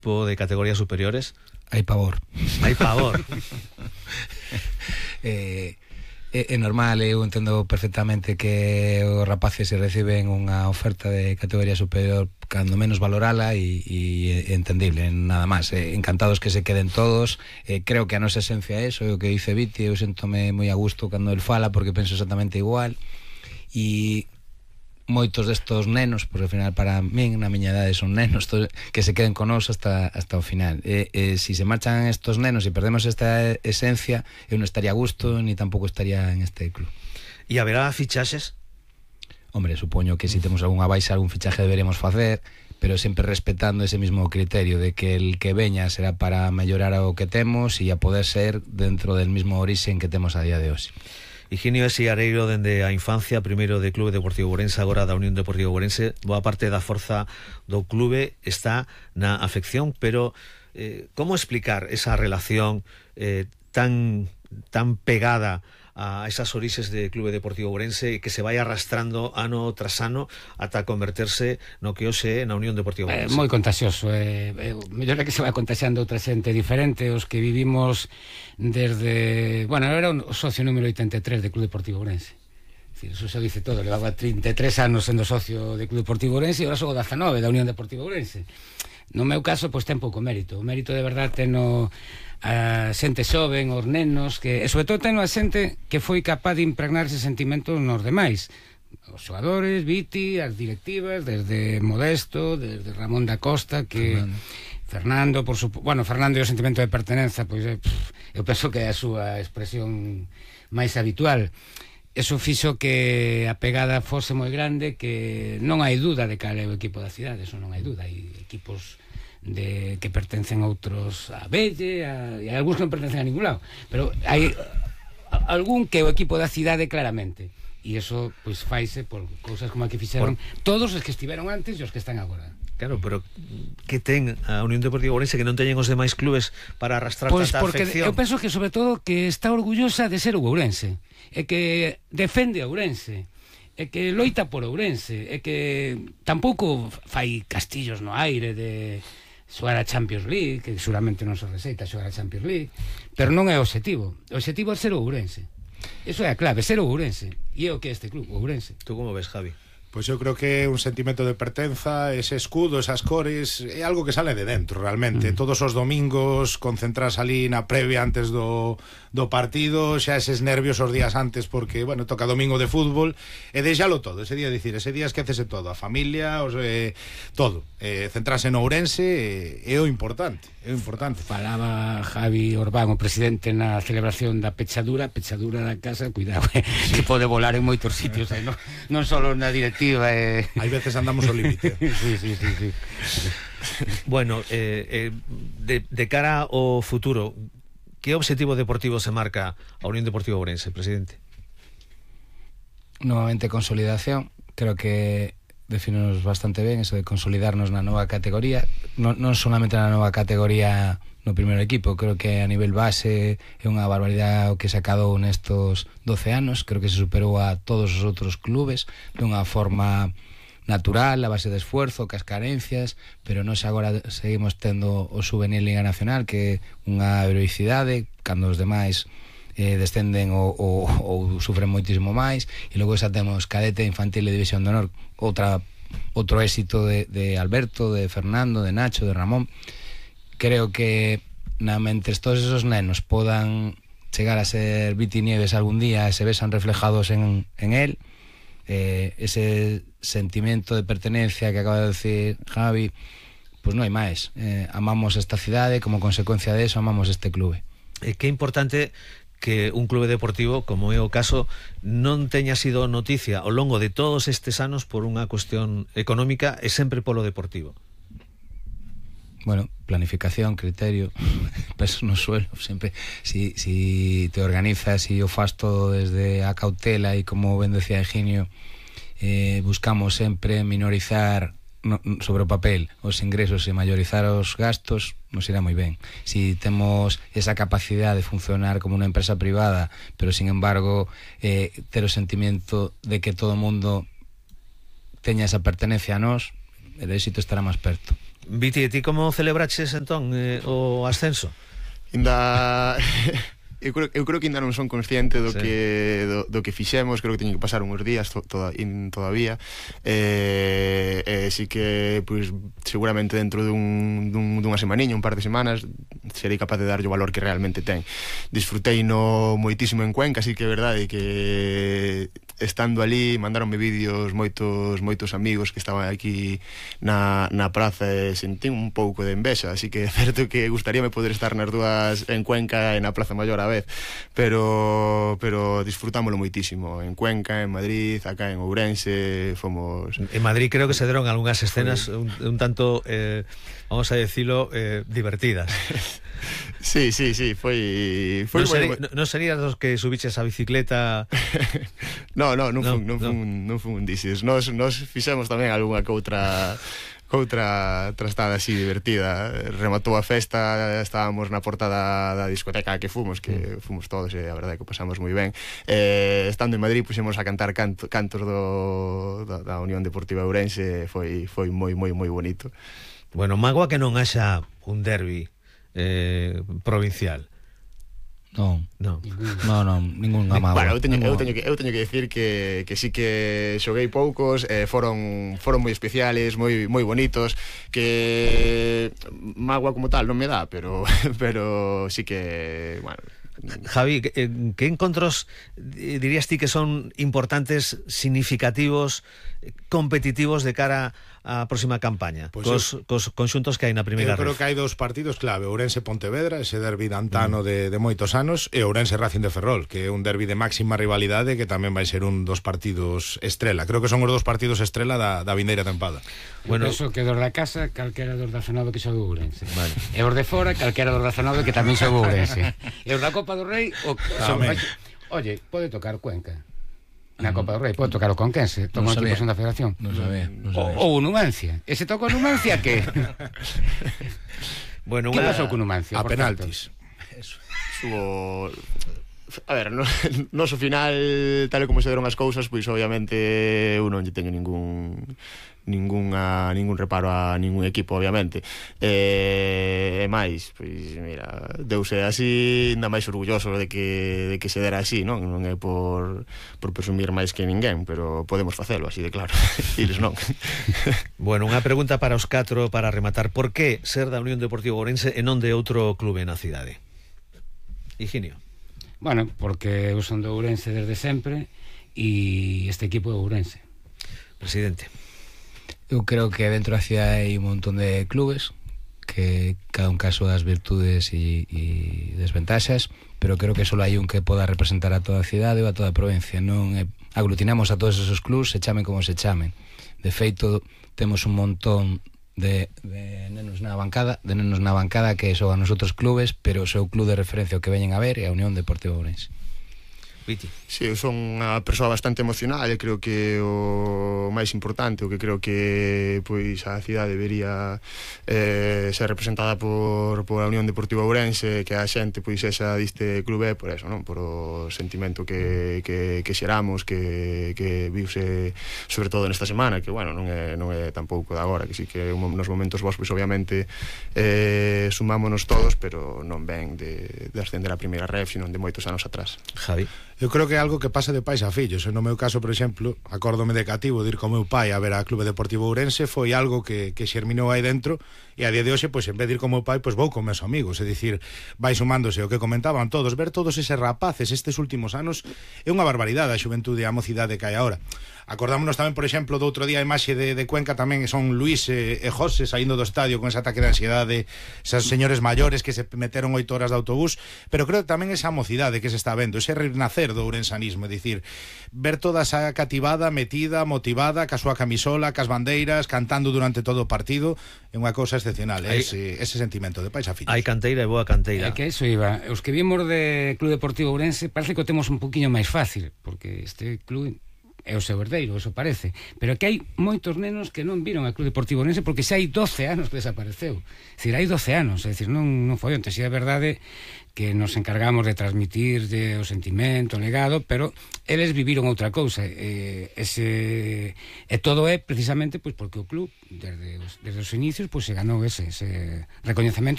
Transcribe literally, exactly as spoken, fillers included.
equipo de categorías superiores? Hai pavor. Hai pavor. eh, é, é normal, eu entendo perfectamente que os rapaces se reciben unha oferta de categoría superior cando menos valorala e, e entendible, nada máis. Eh, encantados que se queden todos. Eh, creo que a nosa esencia é eso, é o que dice Viti, eu sentome moi a gusto cando el fala porque penso exactamente igual. E moitos destos nenos, porque ao final para min, na miña idade son nenos, to, que se queden con nós hasta, hasta o final. E, e si se marchan estos nenos e perdemos esta esencia, eu non estaría a gusto ni tampouco estaría en este club. E haberá fichaxes? Hombre, supoño que si temos algunha baixa, algún fichaje deberemos facer, pero sempre respetando ese mismo criterio de que el que veña será para mellorar o que temos e a poder ser dentro del mismo orixen que temos a día de hoxe. Higinio é Siareiro dende a infancia, primeiro de Clube Deportivo Ourense, agora da Unión Deportiva Ourense. Boa parte da forza do clube está na afección, pero eh, como explicar esa relación eh, tan, tan pegada a esas orixes de Clube Deportivo Ourense que se vai arrastrando ano tras ano ata converterse no que hoxe é na Unión Deportiva Ourense? É moi contagioso, é, é, mellor é que se vai contagiando outra xente diferente, os que vivimos desde... Bueno, era o socio número oitenta e tres de Clube Deportivo Ourense. Eso se dice todo, levaba trinta e tres anos sendo socio de Clube Deportivo Ourense e agora sou dezanove da Unión Deportiva Ourense. No meu caso, pois ten pouco mérito. O mérito de verdade teno a xente xoven, os nenos, que, e sobre todo teno a xente que foi capaz de impregnar ese sentimento nos demais. Os xogadores, Viti, as directivas, desde Modesto, desde Ramón da Costa, que... Fernando, Fernando por su... Bueno, Fernando e o sentimento de pertenenza, pois é, pff, eu penso que é a súa expresión máis habitual. Eso fixo que a pegada fose moi grande, que non hai duda de cal é o equipo da cidade, eso non hai duda. Hai equipos de que pertencen a outros a Belle, a, e algúns non pertencen a ningún lado, pero hai a, algún que é o equipo da cidade claramente, e eso pois faise por cousas como a que fixeron por... todos os que estiveron antes e os que están agora. Claro, pero que ten a Unión Deportiva Ourense que non teñen os demais clubes para arrastrar pois tanta porque afección? Eu penso que sobre todo que está orgullosa de ser o Ourense, e que defende a Ourense, e que loita por Ourense, e que tampouco fai castillos no aire de xogar a Champions League, que seguramente non se receita xogar a Champions League, pero non é o objetivo. O objetivo é ser o Ourense. Eso é a clave, ser o Ourense. E é o que é este club, o Ourense. Tú como ves, Javi? Pois eu creo que é un sentimento de pertenza, ese escudo, esas cores, é algo que sale de dentro realmente. Mm. Todos os domingos concentras ali na previa antes do, do partido, xa eses nervios os días antes porque, bueno, toca domingo de fútbol, e deixalo todo, ese día, dicir, ese día esquecese todo, a familia, os, eh, todo, eh, centrarse no Ourense é, é o importante, é o importante. Falaba Javi Orbán, o presidente, na celebración da pechadura, pechadura da casa, cuidado, eh, sí. Que pode volar en moitos sitios, eh, non, non só na directiva. Eh. Hai veces andamos ao límite. Sí, sí, sí, sí. Bueno, eh, eh, de, de cara ao futuro, que objetivo deportivo se marca a Unión Deportiva Ourense, presidente? Nuevamente consolidación. Creo que definimos bastante ben eso de consolidarnos na nova categoría, non, non solamente na nova categoría no primeiro equipo, creo que a nivel base é unha barbaridade o que se acadou nestos doce anos, creo que se superou a todos os outros clubes dunha forma natural, a base de esfuerzo, cas carencias, pero nós agora seguimos tendo o Juvenil Liga Nacional, que é unha heroicidade, cando os demais eh, descenden ou, ou, ou sufren moitísimo máis, e logo xa temos cadete, infantil e división de honor, outra, outro éxito de, de Alberto, de Fernando, de Nacho, de Ramón. Creo que na mentres todos esos nenos podan chegar a ser Viti Nieves algún día e se vesan reflejados en, en él, eh, ese sentimento de pertenencia que acaba de decir Javi, pues non hai máis. Eh, amamos esta cidade, como consecuencia de eso amamos este clube. Eh, que importante que un clube deportivo, como é o caso, non teña sido noticia ao longo de todos estes anos por unha cuestión económica e sempre polo deportivo. Bueno, planificación, criterio, peso no suelo, sempre. Si, si te organizas e o fas todo desde a cautela e, como ben decía Higinio, eh, buscamos sempre minorizar no, sobre o papel os ingresos e mayorizar os gastos, nos irá moi ben. Si temos esa capacidade de funcionar como unha empresa privada, pero sin embargo eh, ter o sentimento de que todo o mundo teña esa pertenencia a nós, el éxito estará máis perto. Viti, ti como celebraches entón eh, o ascenso? Ainda... Eu creo, eu creo que ainda non son consciente do, sí. que, do, do que fixemos. Creo que teñen que pasar uns días to, toda, in, todavía e, eh, sí que pues, seguramente dentro dun, dun, dunha semaniña, un par de semanas, serei capaz de darlle o valor que realmente ten. Disfrutei no moitísimo en Cuenca, así que é verdade que estando ali mandaronme vídeos moitos moitos amigos que estaban aquí na, na praza e sentín un pouco de envexa, así que é certo que gustaríame poder estar nas dúas, en Cuenca e na Praza Maior a vez, pero pero disfrutámoslo moitísimo en Cuenca, en Madrid, acá en Ourense, fomos... En Madrid creo que se deron algunhas escenas un, un tanto, eh, vamos a decirlo, eh, divertidas. Sí, sí, sí, foi... foi non, seri, moi... no, non serías dos que subiches a bicicleta? No, no, non, no, fun, non, no. Fun, non fun un dices. Nos, nos fixemos tamén algunha coutra outra trastada así divertida. Rematou a festa, estábamos na porta da, da discoteca que fomos, que fomos todos e a verdade que pasamos moi ben. Eh, estando en Madrid puxemos a cantar canto, cantos do, da, da Unión Deportiva Ourense, foi foi moi moi moi bonito. Bueno, mágoa que non haxa un derbi eh, provincial. Non, no, no, no, ningún mágoa. Bueno, eu teño, eu teño que eu teño que decir que que sí que xoguei poucos, eh, foron foron moi especiales, moi moi bonitos, que mágoa como tal non me dá, pero pero sí que, bueno, Javi, ¿qué, qué encontros dirías ti que son importantes, significativos, competitivos de cara a próxima campaña, pues cos, eu, cos conxuntos que hai na primeira ref? Eu creo ref. que hai dos partidos clave, Ourense-Pontevedra, ese derbi de antano mm. de, de moitos anos, e Ourense-Racing de Ferrol, que é un derbi de máxima rivalidade que tamén vai ser un dos partidos estrela. Creo que son os dos partidos estrela da, da vindeira tempada. Bueno, eso que dos da casa, calquera dos da Zonado que xogue Ourense. Vale. E os de fora, calquera dos da Zonado que tamén xogue Ourense. E os da Copa do Rei, o son... Oye, pode tocar Cuenca. Na Copa do Rei pode tocar o Conquense, toca un equipo da Federación. Non sabía, non sabía. Ou o Numancia. E se toca o Numancia, que? Bueno, que una... pasou con Numancia? A penaltis. Subo... A ver, no, no so final, tal e como se deron as cousas, pois obviamente eu non lle teño ningún ninguna, ningún reparo a ningún equipo, obviamente. E, e máis, pois mira, deuse así, ainda máis orgulloso de que, de que se dera así, non? Non é por, por presumir máis que ninguén, pero podemos facelo así de claro. Iles non. Bueno, unha pregunta para os catro para rematar. Por que ser da Unión Deportiva Ourense e non de outro clube na cidade? Higinio. Bueno, porque eu son de Ourense desde sempre e este equipo é Ourense. Presidente. Eu creo que dentro da cidade hai un montón de clubes que cada un caso das virtudes e, e desventaxas, pero creo que só hai un que poda representar a toda a cidade ou a toda a provincia. Non é, aglutinamos a todos esos clubs, se chamen como se chamen. De feito, temos un montón de, de nenos na bancada, de nenos na bancada que xogan nos outros clubes, pero o seu club de referencia o que veñen a ver é a Unión Deportiva Ourense. Viti. Sí, eu son unha persoa bastante emocional e creo que o máis importante, o que creo que pois a cidade debería eh, ser representada por, por a Unión Deportiva Ourense, que a xente pois esa diste clube por eso, non? Por o sentimento que, que, que xeramos, que, que viuse sobre todo nesta semana, que bueno, non é, non é tampouco de agora, que sí que nos momentos vos pois obviamente eh, sumámonos todos, pero non ven de, de ascender a primeira ref, sino de moitos anos atrás. Javi. Eu creo que é algo que pasa de pais a fillos. No meu caso, por exemplo, acórdome de cativo de ir co meu pai a ver a Clube Deportivo Ourense, foi algo que, que xerminou aí dentro, e a día de hoxe, pois, en vez de ir co meu pai, pois vou con meus amigos, é dicir, vai sumándose o que comentaban todos, ver todos eses rapaces estes últimos anos é unha barbaridade a xuventude e a mocidade que hai agora. Acordámonos tamén, por exemplo, do outro día a imaxe de, de Cuenca tamén son Luís e, e José saindo do estadio con ese ataque de ansiedade, esos señores maiores que se meteron oito horas de autobús, pero creo que tamén esa mocidade que se está vendo, ese renacer do ourensanismo, é dicir, ver toda esa cativada, metida, motivada, ca súa camisola, cas bandeiras, cantando durante todo o partido, é unha cousa excepcional, hai, ese, ese sentimento de pais a fillos. Hai canteira e boa canteira. É que iso iba, os que vimos de Club Deportivo Ourense parece que o temos un poquinho máis fácil, porque este club é o seu herdeiro, eso parece, pero que hai moitos nenos que non viron ao Club Deportivo Ourense porque xa hai doce anos que desapareceu. É dicir, hai doce anos, é dicir, non, non foi onte, si é verdade que nos encargamos de transmitir de o sentimento, o legado, pero eles viviron outra cousa, e, ese, e todo é precisamente pois, porque o club, desde os, desde os inicios, pois, se ganou ese, ese recoñecemento